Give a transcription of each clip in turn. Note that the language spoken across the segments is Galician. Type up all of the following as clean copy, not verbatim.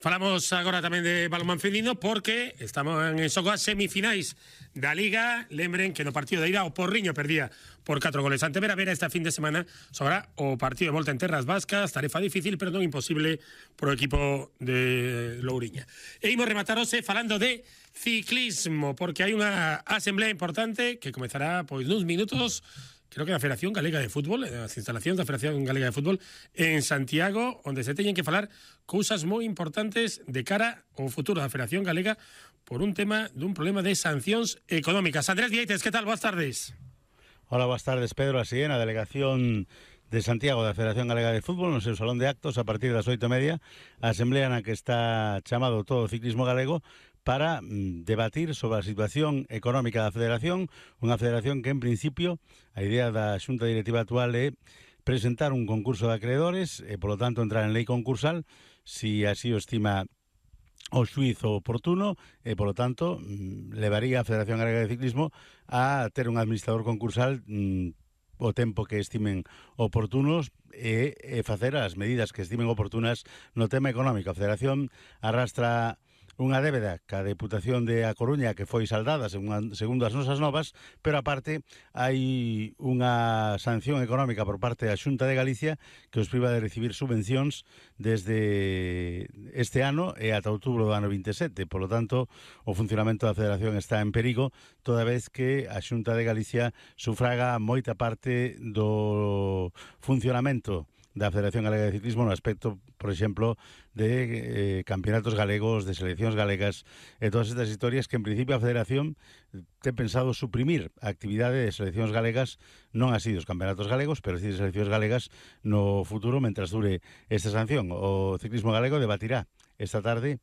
Falamos agora tamén de balonmán feminino porque estamos en xogo as semifinais da Liga. Lembren que no partido de ida o Porriño perdía por 4 goles ante Vera. Esta fin de semana sobra o partido de volta en terras vascas. Tarefa difícil, pero non imposible pro equipo de Louriña. E imos rematar hoxe falando de ciclismo, porque hai unha asamblea importante que comezará pois nuns minutos. Creo que a Federación Galega de Fútbol, as instalacións da Federación Galega de Fútbol en Santiago, onde se teñen que falar cousas moi importantes de cara ao futuro da Federación Galega por un tema dun problema de sancións económicas. Andrés Vieites, que tal? Boas tardes. Hola, boas tardes, Pedro. Así en a delegación de Santiago da Federación Galega de Fútbol, no seu salón de actos, a partir das 8:30, a asamblea na que está chamado todo o ciclismo galego para debatir sobre a situación económica da federación, unha federación que en principio a idea da xunta directiva actual é presentar un concurso de acreedores e polo tanto entrar en lei concursal si así o estima o xuiz oportuno e polo tanto levaría a Federación Galega de Ciclismo a ter un administrador concursal o tempo que estimen oportunos e facer as medidas que estimen oportunas no tema económico. A Federación arrastra unha débeda ca Deputación de A Coruña que foi saldada segundo as nosas novas, pero aparte hai unha sanción económica por parte da Xunta de Galicia que os priva de recibir subvencións desde este ano e ata outubro do ano 27. Por lo tanto, o funcionamento da Federación está en perigo toda vez que a Xunta de Galicia sufraga moita parte do funcionamento da Federación Galega de Ciclismo no aspecto, por exemplo, de campeonatos galegos, de seleccións galegas e todas estas historias que en principio a Federación ten pensado suprimir a actividade de seleccións galegas, non así dos campeonatos galegos, pero sí de seleccións galegas no futuro, mentras dure esta sanción. O ciclismo galego debatirá esta tarde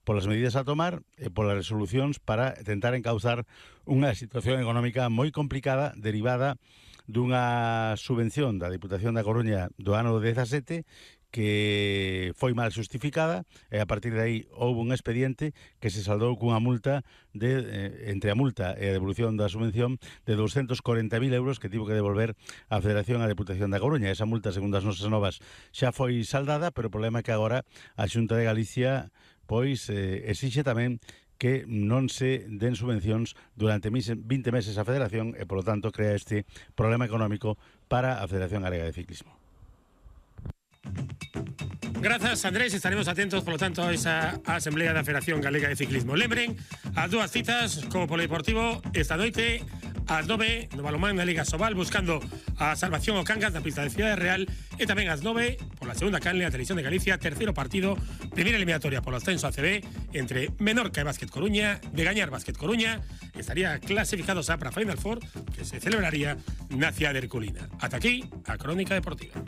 polas medidas a tomar e polas resolucións para tentar encauzar unha situación económica moi complicada derivada dunha subvención da Deputación da Coruña do ano 17 que foi mal justificada e a partir de aí houve un expediente que se saldou cunha multa entre a multa e a devolución da subvención de 240.000 euros que tivo que devolver a Federación a Deputación da Coruña. Esa multa, segundo as nosas novas, xa foi saldada, pero o problema é que agora a Xunta de Galicia pois exixe tamén que non se den subvencións durante 20 meses a Federación e, polo tanto, crea este problema económico para a Federación Galega de Ciclismo. Grazas, Andrés. Estaremos atentos, polo tanto, a esa Asamblea da Federación Galega de Ciclismo. Lembren as dúas citas co Polideportivo esta noite ás 9 no balonmán na Liga Sobal buscando a salvación ao Cangas na pista de Cidade Real e tamén ás 9 pola segunda canle a Televisión de Galicia, terceiro partido, primeira eliminatoria polo ascenso a CB entre Menorca e Básquet Coruña. De gañar Básquet Coruña estaría clasificado xa para Final Four que se celebraría na cidade herculina. Ata aquí a Crónica Deportiva.